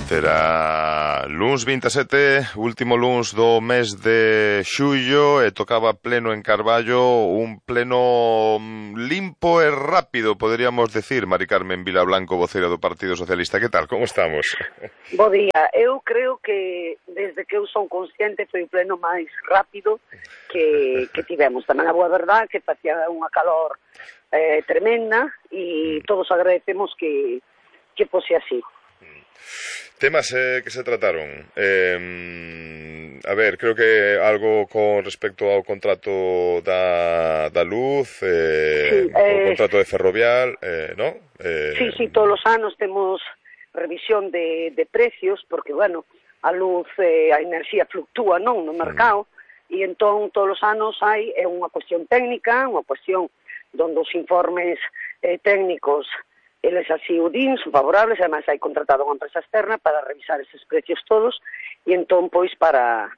Era luns 27, último luns do mes de xullo, e tocaba pleno en Carballo, un pleno limpo e rápido, poderíamos decir. Mari Carmen Vilablanco, voceira do Partido Socialista, que tal, como estamos? Bo día, eu creo que desde que eu son consciente foi o pleno máis rápido que tivemos. Tamén a boa verdade que facía unha calor tremenda e todos agradecemos que fose así. Temas que se trataron. A ver, creo que algo con respecto ao contrato da luz, sí, o contrato de Ferrovial, ¿no? Sí, todos os anos temos revisión de precios, porque, bueno, a luz, a enerxía fluctúa, non, no mercado, e entón todos os anos hai unha cuestión técnica, unha cuestión donde os informes técnicos eles así o din, son favorables, ademais hai contratado unha empresa externa para revisar eses precios todos, e entón, pois, para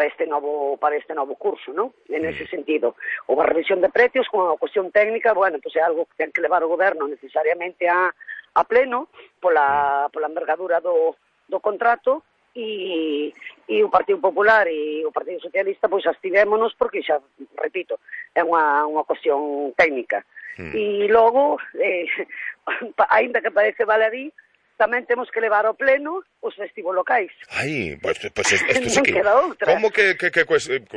este novo curso, non? En ese sentido. Ou a revisión de precios con a cuestión técnica, bueno, pois é algo que ten que levar o goberno necesariamente a pleno, pola envergadura do contrato, e o Partido Popular e o Partido Socialista, pois, abstivémonos porque, xa, repito, é unha cuestión técnica. E logo, aínda que parece baladí, tamén temos que levar ao pleno os festivos locais. Ai, pues esto sí que... outra. Como que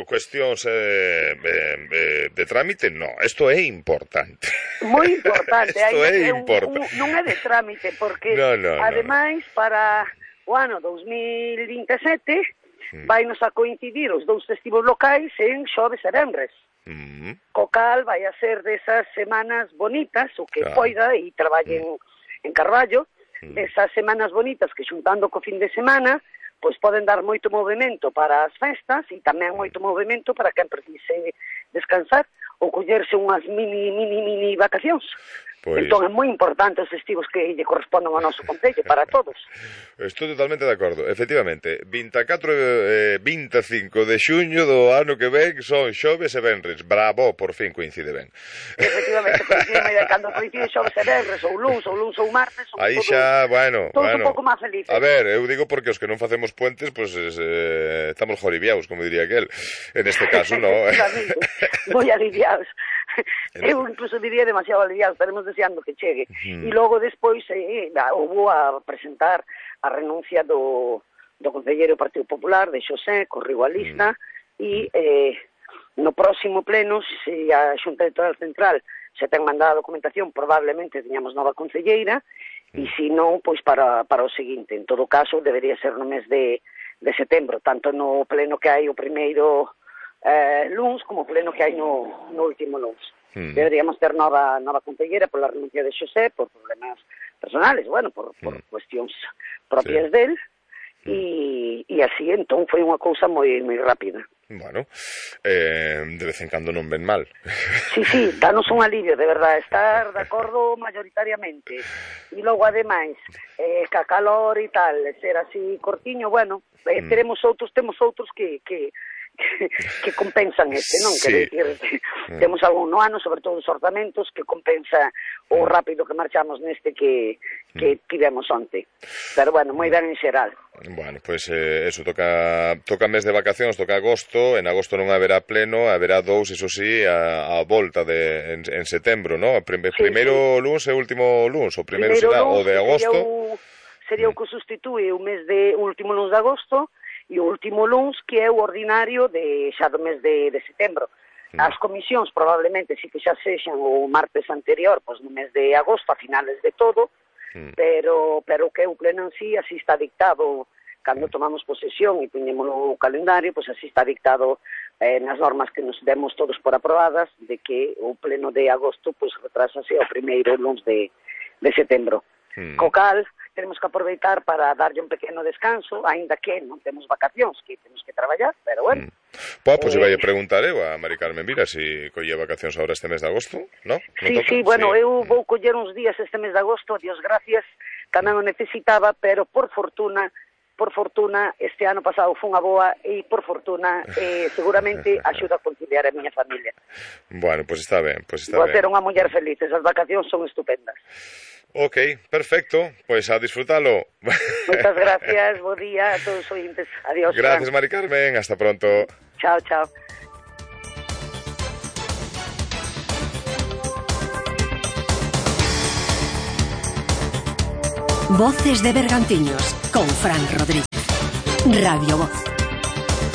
cuestións de trámite? No, esto é importante. Moi importante. Esto é importante. Non é de trámite, porque, ademais, para o ano 2027, vainos a coincidir os dous festivos locais en xoves e venres. Co cal vai a ser desas semanas bonitas, o que poida, e traballen en Carballo, desas semanas bonitas que xuntando co fin de semana, pois poden dar moito movimento para as festas e tamén moito movimento para quen precise descansar ou collerse unhas mini vacacións. Pois... Entón é moi importante os festivos que lle corresponden ao noso concello para todos. Estou totalmente de acordo. Efectivamente, 24 e 25 de xuño do ano que ven son xoves e venres. Bravo, por fin coincide ben. Efectivamente, coincide, cando coincide xoves e venres, ou luns ou martes, aí xa, bueno, un pouco máis felices. A ver, eu digo porque os que non facemos puentes, pois estamos joribiaos, como diría aquel. En este caso, no. Moi aliviados. Eu incluso diría demasiado aliviados, estaremos deseando que chegue. E logo despois houve a presentar a renuncia do concelleiro do Partido Popular, de Xosé, corriu a lista, e no próximo pleno, se a Xunta Electoral Central se ten mandado a documentación, probablemente teñamos nova concelleira, e se non, pois para o seguinte. En todo caso, debería ser no mes de setembro, tanto no pleno que hai o primeiro luns, como o pleno que hai no último luns. Deberíamos ter nova concelleira pola renuncia de Xosé, por problemas personales, bueno, por cuestións propias del, e así, entón, foi unha cousa moi rápida. Bueno, de vez en cando non ven mal. Sí, danos un alivio, de verdade, estar de acordo mayoritariamente. E logo, ademais, ca calor e tal, ser así cortiño, bueno, temos outros que compensan non? Sí. Quer dicir, temos algún no ano, sobre todo os orzamentos, que compensa o rápido que marchamos neste que tivemos onte. Pero, bueno, moi ben en xeral. Bueno, pois eso, toca mes de vacacións, toca agosto, en agosto non haberá pleno, haberá dous, iso sí, a volta en setembro, non? Primeiro luns e último luns, o primeiro será o de agosto. Sería o que sustitúe o último luns de agosto, e o último luns, que é o ordinario xa do mes de setembro. As comisións probablemente sí que xa sexan o martes anterior, pois no mes de agosto, a finales de todo, pero que o pleno en sí así está dictado, cando tomamos posesión e poñémolo o calendario, pois así está dictado nas normas que nos demos todos por aprobadas, de que o pleno de agosto pois retrasase ao primeiro luns de setembro. Co cal, tenemos que aproveitar para darlle un pequeno descanso, aínda que non temos vacacións, que temos que traballar, pero bueno. Pois vai a preguntar eu a Mari Carmen Vila se colle vacacións agora este mes de agosto, ¿no? Sí, bueno, eu vou coller uns días este mes de agosto, Dios gracias, tamén o necesitaba, pero por fortuna, este ano pasado foi unha boa e, por fortuna, seguramente axuda a conciliar a miña familia. Bueno, pois está ben, Vou a ser unha muller feliz, esas vacacións son estupendas. Ok, perfecto, pues a disfrutarlo. Moitas gracias, bo día a todos os ointes. Adiós. Gracias, Mari Carmen, hasta pronto. Chao, chao. Voces de Bergantiños con Fran Rodríguez. Radio Voz.